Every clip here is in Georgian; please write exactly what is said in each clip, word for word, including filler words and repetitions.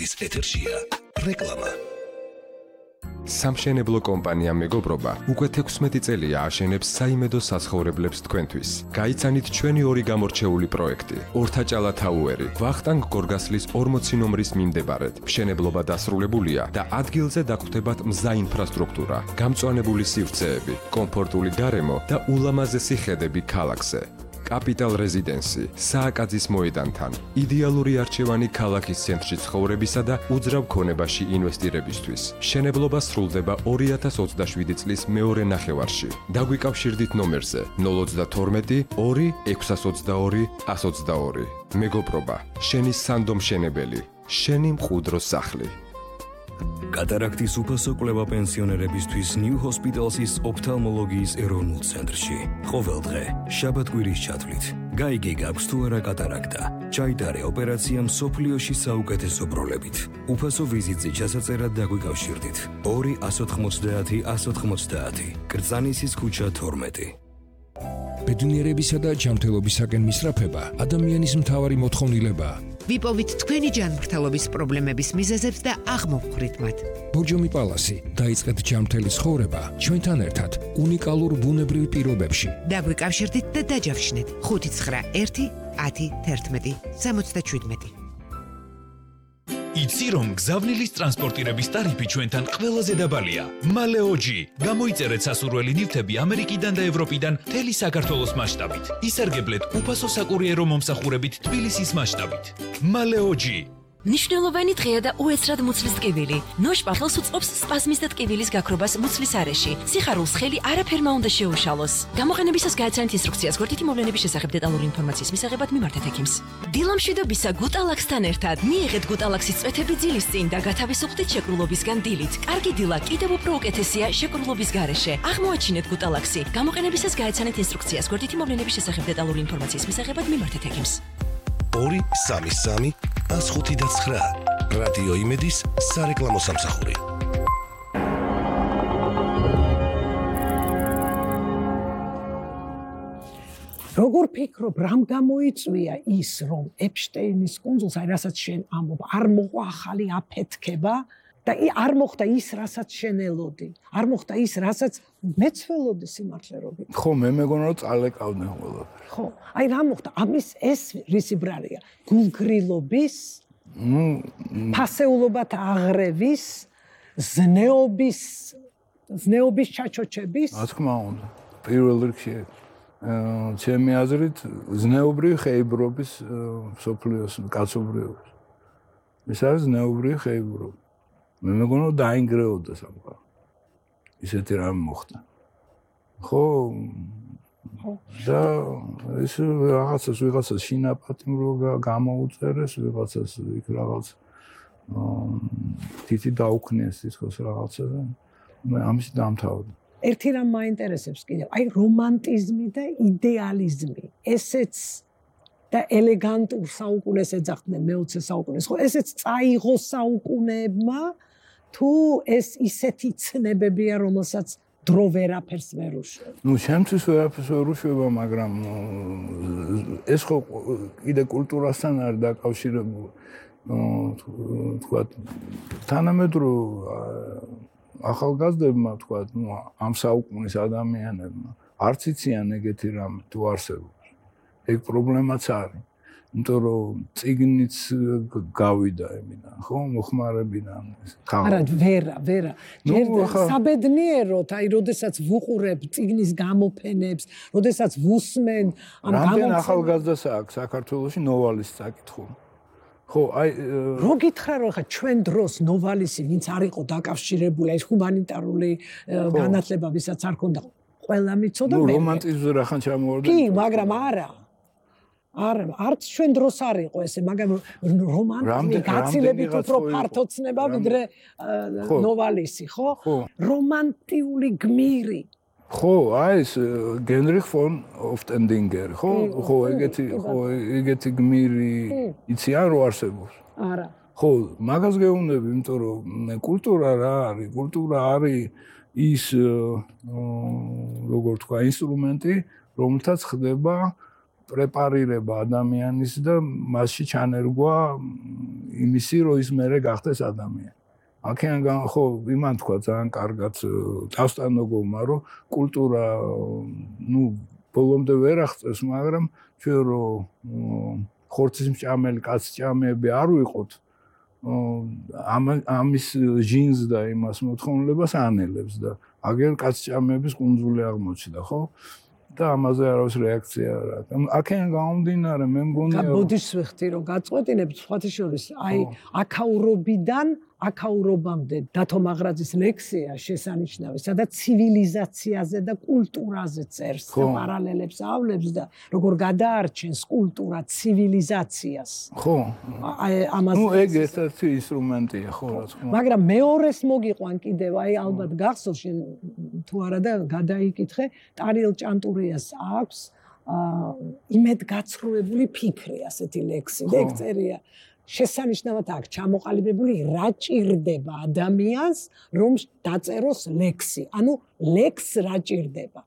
იმედის ეთერშია რეკლამა. სამშენებლო კომპანია მეგობრობა უკვე თექვსმეტი წელია აშენებს საიმედო საცხოვრებლებს თქვენთვის. გაიცანით ჩვენი ორი გამორჩეული პროექტი: ორთაჭალა თაუერი, ვახტანგ გორგასლის ორმოცი ნომრის მიმდებარედ. მშენებლობა დასრულებულია და ადგილზე დაგხვდებათ მზა ინფრასტრუქტურა, გამწვანებული სივრცეები, კომფორტული გარემო და ულამაზესი ხედები ქალაქზე. კაპიტალ რეზიდენსი, სააკაძის მოედანთან, იდეალური არჩევანი ქალაქის ცენტრში ცხოვრებისა და უძრავ ქონებაში ინვესტირებისთვის. მშენებლობა სრულდება ორი ათას ოცდაშვიდი წლის მეორე ნახევარში. დაგვიკავშირდით ნომერზე ნულ ოცდათორმეტი ორი ექვსას ოცდაორი ას ოცდაორი. მეგობრობა, შენი სანდო მშენებელი, შენი მყუდრო სახლი. კატარაქტის უფასო კვლევა პენსიონერებისთვის New Hospital's ოფთალმოლოგიის ეროვნულ ცენტრში. ყოველდღე, შაბათ-კვირის ჩათვლით. გაიგე გაქვს თუ არა კატარაქტა. ჩაიტარე ოპერაცია მსოფლიოში საუკეთესო პროლებით. უფასო ვიზიტზე ჩასაწერად დაგვიკავშირდით. ორი ას ოთხმოცდაათი ას ოთხმოცდაათი. კრწანისის ქუჩა თორმეტი. ბედნიერებისა და ჯანმრთელობისაკენ მისწრაფება ადამიანის მთავარი მოთხოვნილებაა. ვიპოვით თქვენი ჯანმრთელობის პრობლემების მიზეზებს და აღმოვხვრით მათ. ბორჯომი პალასი, დაიწყეთ ჯანმრთელი ცხოვრება ჩვენთან ერთად უნიკალურ ბუნებრივ პირობებში. დაგვიკავშირდით და დაჯავშნეთ ხუთი ცხრა ერთი ათი თერთმეტი სამოცდაშვიდმეტი. იცი რომ გზავნილის ტრანსპორტირების ტარიფი ჩვენთან ყველაზე დაბალია. მალეოჯი. გამოიწერეთ სასურველი ნივთები ამერიკიდან და ევროპიდან მთელი საქართველოს მასშტაბით. ისარგებლეთ უფასო საკურიერო მომსახურებით თბილისის მასშტაბით. მალეოჯი. მნიშვნელოვანი დღეა და უეცრად მუცლის ტკივილი. ნოშპა ხელს უწყობს სპაზმის და ტკივილის გაქრობას მუცლის არეში. სიხარულს ხელი არაფერმა უნდა შეუშალოს. გამოყენებისას გააცანეთ ინსტრუქციას გვერდითი მოვლენების შესახებ დეტალური ინფორმაციის მისაღებად მიმართეთ ექიმს. დილამშვიდობისა გუტალაქსთან ერთად მიიღეთ გუტალაქსის წვეთები ძილის წინ და გათავისუფლდით შეკრულობისგან დილით. კარგი დილა კიდევ უფრო უკეთესია შეკრულობის გარეშე. აღმოაჩინეთ გუტალაქსი. გამოყენებისას გააცანეთ ინსტრუქციას გვერდითი მოვლენების შესახებ დეტალური ინფორმაციის მისაღებად მიმართეთ ექიმს. ორი სამი სამი ას ხუთი და ცხრა. რადიო იმედის სარეკლამო სამსახური. როგორ ფიქრობ, რამ გამოიწვია ის, რომ ეპშტეინის კუნძულს, აი რასაც შენ ამბობ, არ მოყვა ახალი აფეთქება და არ მოხდა ის, რასაც შენ ელოდი. არ მოხდა ის, რასაც მეც ველოდი სიმართლე რო გითხრა. ხო, მე მეგონა რომ წალეკავდნენ ყველაფერი. ხო, აი რა მოხდა? ამის ეს რისი ბრალია? გულგრილობის, ნუ ფასეულობათ აღრევის, ზნეობის, ზნეობის ჩაჩოჩების? რა თქმა უნდა. პირველ რიგში ჩემი აზრით ზნეობრივი ხეიბრობის სოფლიოს კაცობრიობის. ეს არის ზნეობრივი ხეიბრობა. მე მეგონა რომ დაინგრეოდა სამყარო. ისეთი რამე მოხდა. ხო? ხო. და ეს რაღაცას ვიღაცას შინაპატიმრო გამოუწერეს, ვიღაცას იქ რაღაც თითი დაუქნეს თითქოს რაღაცა და მე ამის დამთავრდა. ერთი რამ მაინტერესებს კიდევ, აი რომანტიზმი და იდეალიზმი. ესეც და ელეგანტურ საუკუნეს ეძახდნენ მეოცე საუკუნეს. ხო, ესეც წაიღო საუკუნეებმა თუ ეს ისეთი ცნებებია, რომელსაც დრო ვერაფერს ვერ უშვებს. ნუ შემთხვევით ვერაფერს ვერ უშვება, მაგრამ ეს ხო კიდე კულტურასთან არის დაკავშირებული. თქვათ თანამედროვე ახალგაზრდებმა თქვათ, ნუ ამ საუკუნის ადამიანებმა არც იციან ეგეთი რამე თუ არსებობს. ეგ პრობლემაც არის. იმიტომ რომ წიგნიც გავიდა ემიდან, ხო, მოხმარებიდან. არა, ვერა, ვერა. საბედნიეროდ, აი, როდესაც ვუყურებ წიგნის გამოფენებს, როდესაც ვუსმენ ამ გამოფენებს. რამდენ ახალგაზრდას აქვს საქართველოში ნოვალის საკითხული? ხო, აი, რო გითხრა რომ ხა ჩვენ დროს ნოვალისი, ვინც არ იყო დაკავშირებული ეს ჰუმანიტარული განათლება, ვისაც არ ქონდა, ყველა მიცოდა მე. ნუ რომანტიზმზე რახან ჩამოვარდა. კი, მაგრამ არა. არ არც ჩვენ დროს არ იყო ესე, მაგრამ რომანტიზმი გაცილებით უფრო ფართოცნება ვიდრე ნოვალისი, ხო? რომანტიული გმირი. ხო, აი ეს გენრიხ ფონ ოფტენდინგერი, ხო? ხო, ეგეთი, ხო, ეგეთი გმირი იციან რო არსებობს? არა. ხო, მაგას გეუბნები, იმიტომ რომ კულტურა რა არის? კულტურა არის ის, როგორ თქვა, ინსტრუმენტი, რომელთაც ხდება პრეპარირება ადამიანის და მასში ჩანერგვა იმისი, რომ ის მერე გახდეს ადამიანი. აქედან ხო იმან თქვა ძალიან კარგად დავსტანოგოვმა, რომ კულტურა ნუ ბოლომდე ვერ აღწევს, მაგრამ ჩვენ რომ ხორცის მჭამელი კაცჭამეები არ ვიყოთ, ამ ამის ჟინს და იმას მოთხოვნილებას ანელებს და აგერ კაცჭამეების კუნძული აღმოჩნდა, ხო? და ამაზე არავის რეაქცია არ აქვს. აქედან გამომდინარე, მე მგონია ბოდიშს ვეხთი რომ გაწყვეტინებთ სხვათა შორის, აი აქაურობიდან აქაურობამდე დათო მაღრაძის ლექსია შესანიშნავი, სადაც ცივილიზაციაზე და კულტურაზე წერს და პარალელებს ავლებს და როგორ გადაარჩენს კულტურა ცივილიზაციას. ხო. აი ამაზე. ნუ ეგ ერთ-ერთი ინსტრუმენტია, ხო, რა თქმა უნდა. მაგრამ მეორეს მოგიყვან კიდევ, აი ალბათ გახსოვს შენ თუ არა და გადაიკითხე, ტარიელ ჭანტურიას აქვს იმედგაცრუებული ფიქრი, ასეთი ლექსი, და ეგ წერია. შესანიშნავად აქ ჩამოყალიბებული რა ჭირდება ადამიანს რომ დაწეროს ლექსი. ანუ ლექს რა ჭირდება.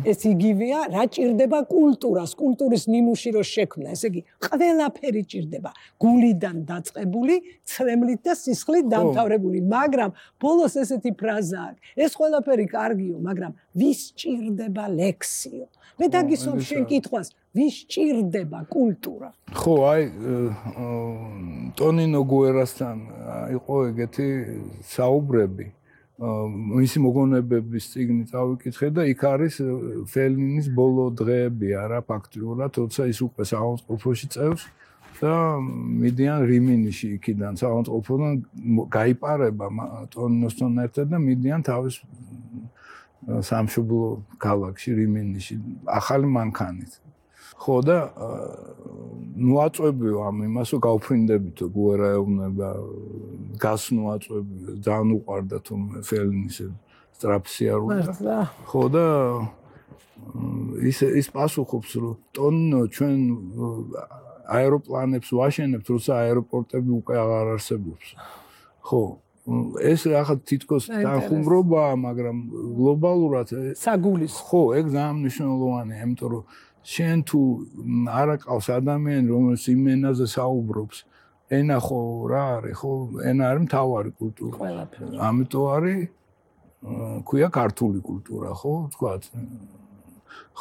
ეს იგივეა რა ჭირდება კულტურას, კულტურის ნიმუში რო შექმნა. ესე იგი ყველაფერი ჭირდება. გულიდან დაწყებული, ცრემლით და სისხლით დამთავრებული. მაგრამ ბოლოს ესეთი ფრაზა აქვს. ეს ყველაფერი კარგიო, მაგრამ ვის ჭირდება ლექსიო? მე დაგისვამ შენ კითხვას, ვის ჭირდება კულტურა? ხო, აი ტონინო გუერასთან იყო ეგეთი საუბრები. მისი მოგონებების წიგნი წავიკითხე და იქ არის ფელინის ბოლო დღეები არა ფაქტიურად, თორსა ის უკვე საავადმყოფოში წევს და მიდიან რიმინიში იქიდან საავადმყოფოდან გაიპარება ტონინოსთან ერთად და მიდიან თავის სამშობლო ქალაქში რიმინიში ახალი მანქანით. ხო და ნუ აწვევიო ამ იმას რომ გავფრინდებითო გუერა ეუბნება გასნო აწვევიო ძალიან უყვარდა თუ ფელინის სტრაფსიარული ხო და ის ის პასუხობს რომ ტონინო ჩვენ აეროპლანებს ვაშენებთ როცა აეროპორტები უკვე აღარ არსებობს ხო ეს რაღაც თითქოს თანხმობაა მაგრამ გლობალურად საგულის ხო ეგ ძალიან მნიშვნელოვანია იმიტომ რომ შენ თუ არ აყავს ადამიანი რომელიც იმ ენაზე საუბრობს ენა ხო რა არის ხო ენა არის მთავარი კულტურა ამიტომ არის ქვია ქართული კულტურა ხო თქვათ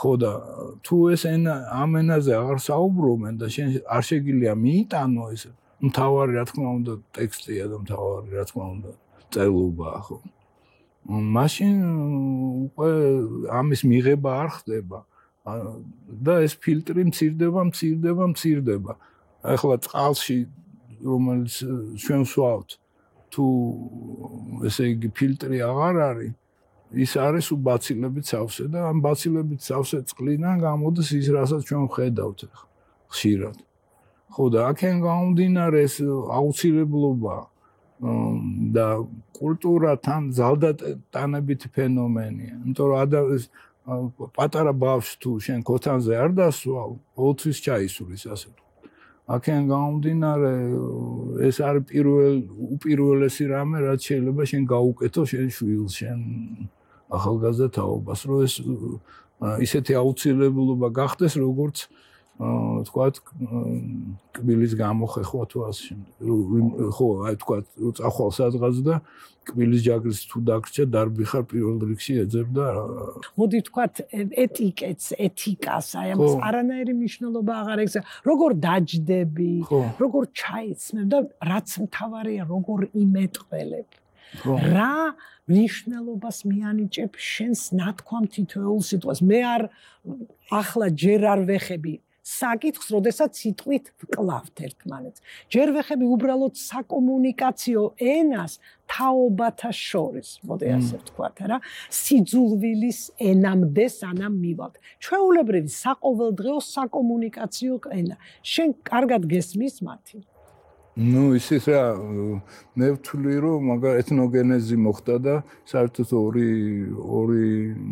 ხო და თუ ეს ენა ამ ენაზე აღარ საუბრობენ და შენ არ შეგიძლია მიიტანო ეს მთავარი რა თქმა უნდა ტექსტია და მთავარი რა თქმა უნდა წერლობაა ხო მაშინ უკვე ამის მიღება არ ხდება და ეს ფილტრი მცირდება, მცირდება, მცირდება. ახლა წყალში რომელიც ჩვენ ვსვავთ, თუ ესე იგი ფილტრი აღარ არის, ის არის უბაცილებით სავსე და ამ ბაცილებით სავსე წყლიდან გამოდის ის, რასაც ჩვენ ვხედავთ ხშირად. ხო და აქენ გამომდინარე ეს აუცილებლობა და კულტურა თან ძალდატანებითი ფენომენია. იმიტომ რომ ადამიანს პატარა ბავშვს თუ შენ ქოთანზე არ დასვავ, ოთხის ჩაისურის ასე თუ. აქედან გამომდინარე ეს არის პირველ უპირველესი რამე, რაც შეიძლება შენ გაუკეთო შენ შვილს, შენ ახალგაზრდა თაობას, რომ ეს ისეთი აუცილებლობა გახდეს, როგორც თქვათ კბილის გამოხეხვა თუ ასე შემდეგ. ხო, აი თქვათ რომ წახვალ სადღაც და კბილის ჯაგრის თუ დაგრჩა დარბი ხარ პირველ რიგში ეძებ და მოდი თქვათ ეტიკეტს, ეთიკას, აი ამას არანაირი მნიშვნელობა აღარ ექცა. როგორ დაჯდები, როგორ ჩაიცმებ და რაც მთავარია, როგორ იმეტყველებ. რა მნიშვნელობას მიანიჭებ შენს ნათქვამ თითოეულ სიტყვას. მე არ ახლა ჯერ არ ვეხები საკითხს, როდესაც სიტყვით ვკლავთ ერთმანეთს. ჯერ ვეხები უბრალოდ საკომუნიკაციო ენას თაობათა შორის, მოდი ასე ვთქვათ, რა, სიძულვილის ენამდე სანამ მივალთ. ჩვეულებრივი საყოველდღეო საკომუნიკაციო ენა. შენ კარგად გესმის მათი? ნუ ისიც რა მე ვთვლი რომ მაგა ეთნოგენეზი მოხდა და საერთოდ ორი ორი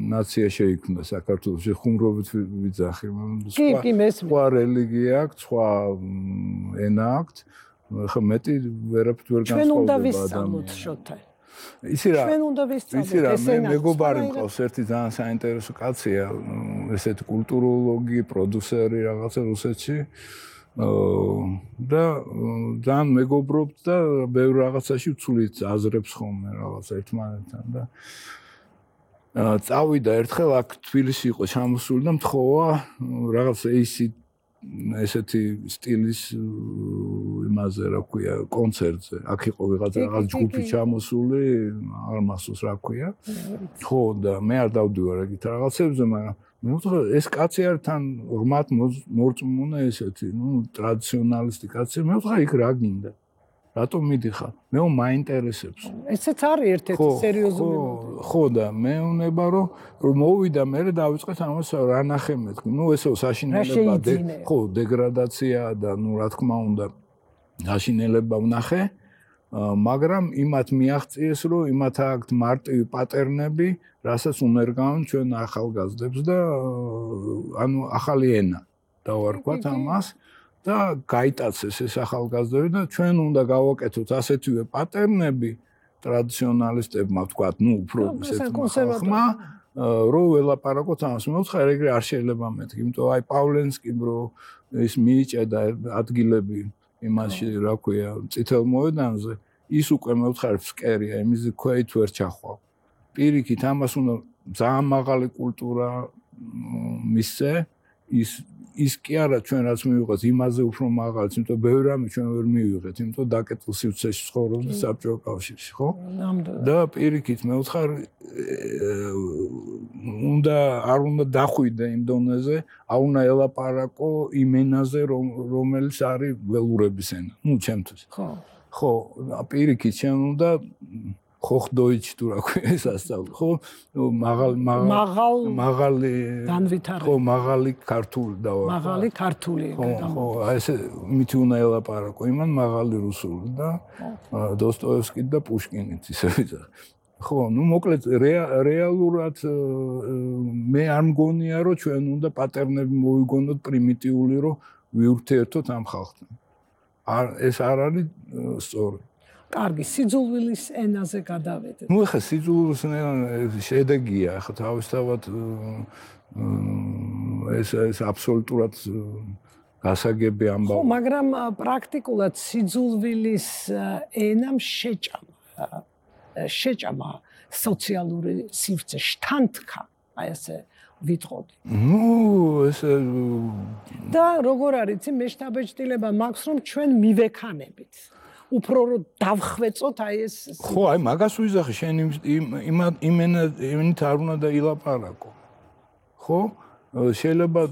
ნაცია შეიქმნა საქართველოში ხუმრობით ვიძახი სხვა რელიგია აქვს სხვა ენა აქვს ხა მეტი ვერაფრით ვერ განსხვავდება ჩვენ უნდა ვისწავლოთ შოთა იცი რა ჩვენ უნდა ვისწავლოთ იცი რა ეს მე ენა მეგობარი მყავს ერთი ძალიან საინტერესო კაცია ესეთი კულტუროლოგი პროდიუსერი რაღაცა რუსეთში და ძალიან მეგობრობთ და ბევრ რაღაცაში ვცვლით აზრებს ხოლმე რაღაც ერთმანეთთან და წავიდა ერთხელ აქ თბილისში იყო ჩამოსული და მთხოვა რაღაც ეისი ესეთი სტილის იმაზე რა ქვია კონცერტზე აქ იყო ვიღაცა რაღაც ჯგუფი ჩამოსული არ მახსოვს რა ქვია ხო და მე არ დავდივარ ეგეთ რაღაცებზე მაგრამ ნუ ეს კაცი არ თან ღმათ მორწმუნე ესეთი ნუ ტრადიციონალისტი კაცი მე ვთქვა იქ რა გინდა რატომ მიდიხარ მე მაინტერესებს ესეც არის ერთ-ერთი სერიოზული ხო და მე უნება რომ რომ მოვიდა მე დავიწყეთ ამას რა ნახე მეთქი ნუ ესეო საშინელება ხო დეგრადაცია და ნუ რა თქმა უნდა საშინელება ვნახე მაგრამ იმათ მიაღწიეს რომ იმათ აქვთ მარტივი პატერნები რასაც უნერგავენ ჩვენ ახალგაზრდებს და ანუ ახალი ენა დავარქვათ ამას და გაიტაცეს ეს ახალგაზრდები და ჩვენ უნდა გავაკეთოთ ასეთივე პატერნები ტრადიციონალისტებმა ვთქვათ, ნუ უფრო ესეთმა ხმა რომ ველაპარაკოთ ამას. მე ვთქვა ეგრე არ შეიძლება მეთქი, იმიტომ აი პავლენსკი ბრო ის მიიჭედა ადგილები იმაში რა ქვია წითელ მოედანზე ის უკვე მე ვთქვა ფსკერია იმის ქვეით ვერ ჩახვალ. პირიქით ამას უნდა ძალიან მაღალი კულტურა მისცე ის ის კი არა ჩვენ რაც მივიღეთ იმაზე უფრო მაღალიც, იმიტომ ბევრი რამე ჩვენ ვერ მივიღეთ, იმიტომ დაკეტილ სივრცეში ცხოვრობთ საბჭოთა კავშირში, ხო? და პირიქით მე ვთქარ უნდა არ უნდა დახვიდე იმ დონეზე, არ უნდა ელაპარაკო იმ ენაზე, რომელიც არის ველურების ენა, ნუ ჩემთვის. ხო. ხო, პირიქით ჩვენ უნდა ხოხდოიჩ თუ რა ქვია ეს ასწავლო ხო მაღალ მაღალ მაღალი განვითარება ხო მაღალი ქართული დავა მაღალი ქართული ხო ხო ესე მითი უნდა ელაპარაკო იმან მაღალი რუსული და დოსტოევსკი და პუშკინით ისე ვიზა ხო ნუ მოკლედ რეალურად მე არ მგონია რომ ჩვენ უნდა პატერნები მოვიგონოთ პრიმიტიული რომ ვიურთიერთოთ ამ ხალხთან არ ეს არ არის სწორი კარგი, სიძულვილის ენაზე გადავედეთ. ნუ ახლა სიძულვილის ენა შედეგია, ახლა თავისთავად ეს ეს აბსოლუტურად გასაგები ამბავი. ხო, მაგრამ პრაქტიკულად სიძულვილის ენამ შეჭამა შეჭამა სოციალური სივრცე შთანთქა, აი ესე ვიტყოდი. ნუ ეს და როგორ არის, იცი მე შთაბეჭდილება მაქვს რომ ჩვენ მივექანებით. უფრო რომ დავხვეწოთ აი ეს ხო აი მაგას ვიზახი შენ იმ იმენა იმით არ უნდა და ილაპარაკო ხო შეიძლება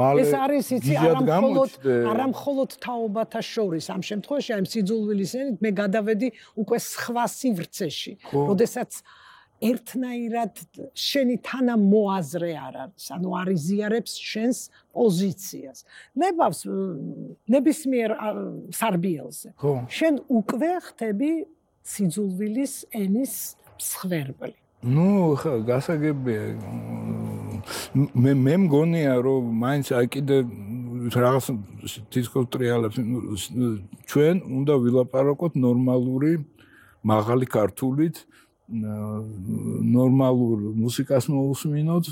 მალე ეს არის იცი არამხოლოდ არამხოლოდ თაობათა შორის ამ შემთხვევაში აი სიძულვილის ენით მე გადავედი უკვე სხვა სივრცეში როდესაც ერთნაირად შენი თანამოაზრე არ არის, ანუ არ იზიარებს შენს პოზიციას. ნებავს ნებისმიერ სარბიელზე. შენ უკვე ხდები სიძულვილის ენის მსხვერპლი. ნუ ხა გასაგებია მე მე მგონია რომ მაინც აი კიდე რაღაც თითქოს ტრიალებს ჩვენ უნდა ვილაპარაკოთ ნორმალური მაღალი ქართულით ნორმალურ მუსიკას მოусმინოთ,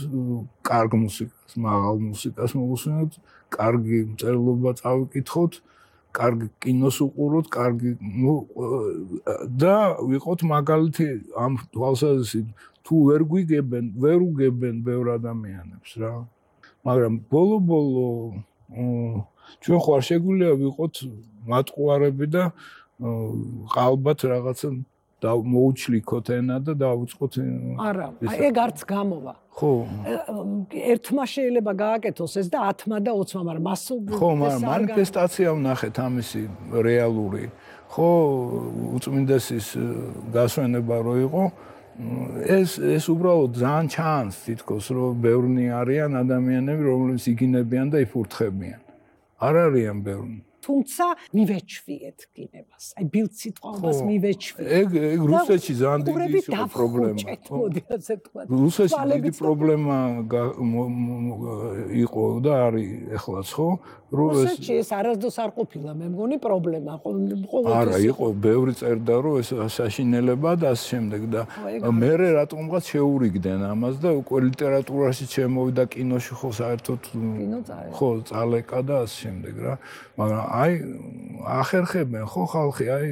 კარგ მუსიკას, მაღალ მუსიკას მოусმინოთ, კარგი მწერლობა წავიკითხოთ, კარგი კინოს უყუროთ, კარგი და ვიყოთ მაგალითი ამ თვალსაზრისით თუ ვერ გვიგებენ, ვერ უგებენ ბევრ ადამიანებს რა. მაგრამ ბოლო-ბოლო ჩვენ ხარ შეგვიძლია ვიყოთ მატყუარები და ყალბად რაღაცა და მოუჩლიქოთ ენა და დავუწყოთ არა ეგ არც გამოვა ხო ერთმა შეიძლება გააკეთოს ეს და ათმა და ოცმა მაგრამ მასობრივად ხო მაგრამ მანიფესტაცია ვნახეთ ამისი რეალური ხო უწმინდესის გასვენება რო იყო ეს ეს უბრალოდ ძალიან ჩანს თითქოს რომ ბევრნი არიან ადამიანები რომლებიც იგინებიან და იფურთხებიან არ არიან ბევრნი თუმცა მივეჩვიეთ გინებას. აი ბილდ სიტყვას მივეჩვიეთ. ეგ ეგ რუსეთში ძალიან დიდი პრობლემა. მოდი ასე თქვა. რუსეთში დიდი პრობლემა იყო და არის ეხლაც ხო? რუსეთში ეს არასდროს არ ყოფილა, მე მგონი პრობლემა. ყოველთვის არა, იყო ბევრი წერდა რომ ეს საშინელება და ასე შემდეგ და მე რატომღაც შეურიგდნენ ამას და უკვე ლიტერატურაში შემოვიდა კინოში ხო საერთოდ ხო წალეკა და ასე შემდეგ რა. მაგრამ აი ახერხებენ ხო ხალხი აი